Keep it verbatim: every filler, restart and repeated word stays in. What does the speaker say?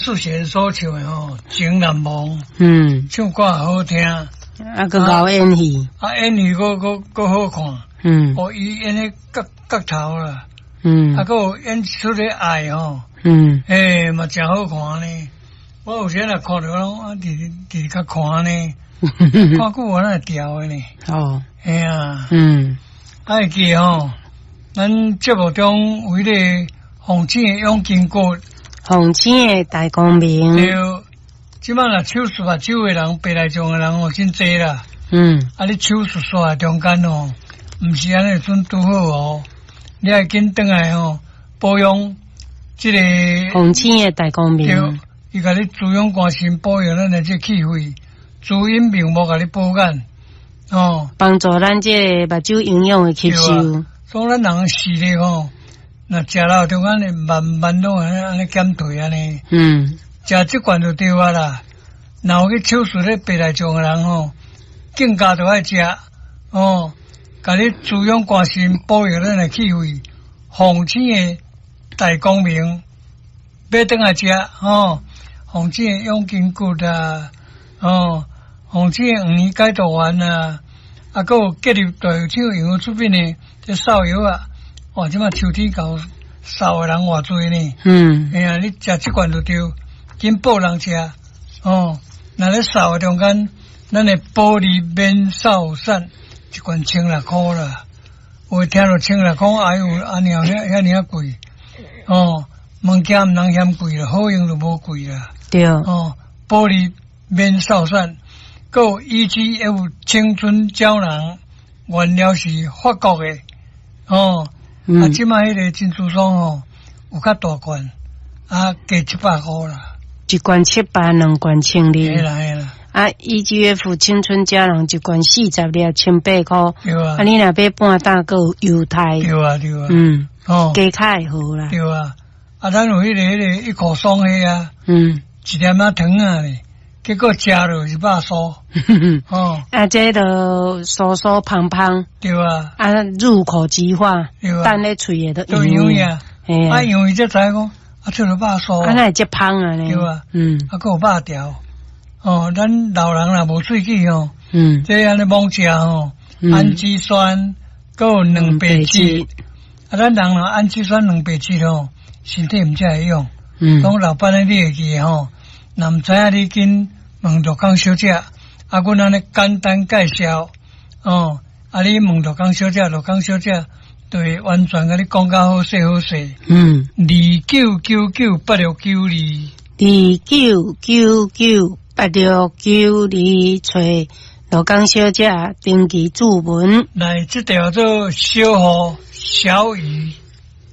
淑賢所唱的吼，《情難忘》，嗯，唱歌好聽，啊，閣𠢕演戲，啊，演戲閣閣閣好看，嗯，哦，伊演彼角角頭啦，嗯，啊，閣有演出彼愛吼，嗯，欸，嘛誠好看呢。我有時若看著攏啊，直直直較看呢，看久我哪會牢的呢？哦，嘿啊，嗯，啊會記吼，咱節目中有彼个鳳醒的養筋骨，鳳醒的大光明，對，這擺若手術目睭的人，白內障的人哦，真濟啦。嗯，啊，你手術煞中間哦，毋是按呢陣拄好哦，你愛緊轉來吼保養這个鳳醒的大光明，對，伊共你滋養肝腎，保養咱的這氣血，滋陰明目，共你補眼，哦，幫助咱這个目睭營養的吸收。所以咱人視力吼，若食了中間會慢慢攏按呢按呢減退按呢。嗯，食這罐就對啊啦。若有去手術咧白內障的人吼，更加著愛食哦，共你滋養肝腎，保養咱的氣血，鳳醒的大光明，買轉來食吼，鳳醒的養筋骨啊，哦，鳳醒的黃連解毒丸啊，啊，閣有結合大藥廠營養出品的這瘦藥啊，哇，這擺秋天到，瘦的人偌濟呢？嗯，哎呀，你食這罐就對，緊報人食哦。若咧瘦的中間，咱的保利免瘦散一罐千六箍啦。有聽著千六箍，哎喲，按呢遐遐爾仔貴哦。物件毋通嫌貴啦，好用就無貴啦。對。哦，保利免瘦散，閣有 E G F 青春膠囊，原料是法國的哦。嗯、啊，這擺彼个珍珠霜吼，有較大罐，啊，加七百箍啦。一罐七百，兩罐千二。嘿啦嘿啦。啊，E G F 青春膠囊一罐四十粒，千八箍。對啊。啊，你若買半打，閣有優待。對啊對啊。嗯。哦。加較會好啦。對啊。啊，咱有彼个彼个一口霜彼啊。嗯。一粒仔糖仔咧，結果食落是肉酥。哦。啊，這就酥酥芳芳。對啊。啊，入口即化。對啊。等咧喙的都溶啊。啊，溶伊才知影講，啊，出了肉酥。啊，哪會這芳啊咧？對啊。嗯。啊，閣有肉條。哦，咱老人若無喙齒吼，嗯，這按呢猛食吼，氨基酸閣有蛋白質。啊，咱人若氨基酸蛋白質吼，身體毋才會用。嗯。講老闆你會記吼，若毋知影你緊問陸江小姐，啊，阮按呢簡單介紹，哦，啊，你問陸江小姐，陸江小姐就會完全共你講甲好勢好勢。嗯。二九九九八六九二。二九九九八六九二，揣陸江小姐登記注文。來，這條做小雨，小雨。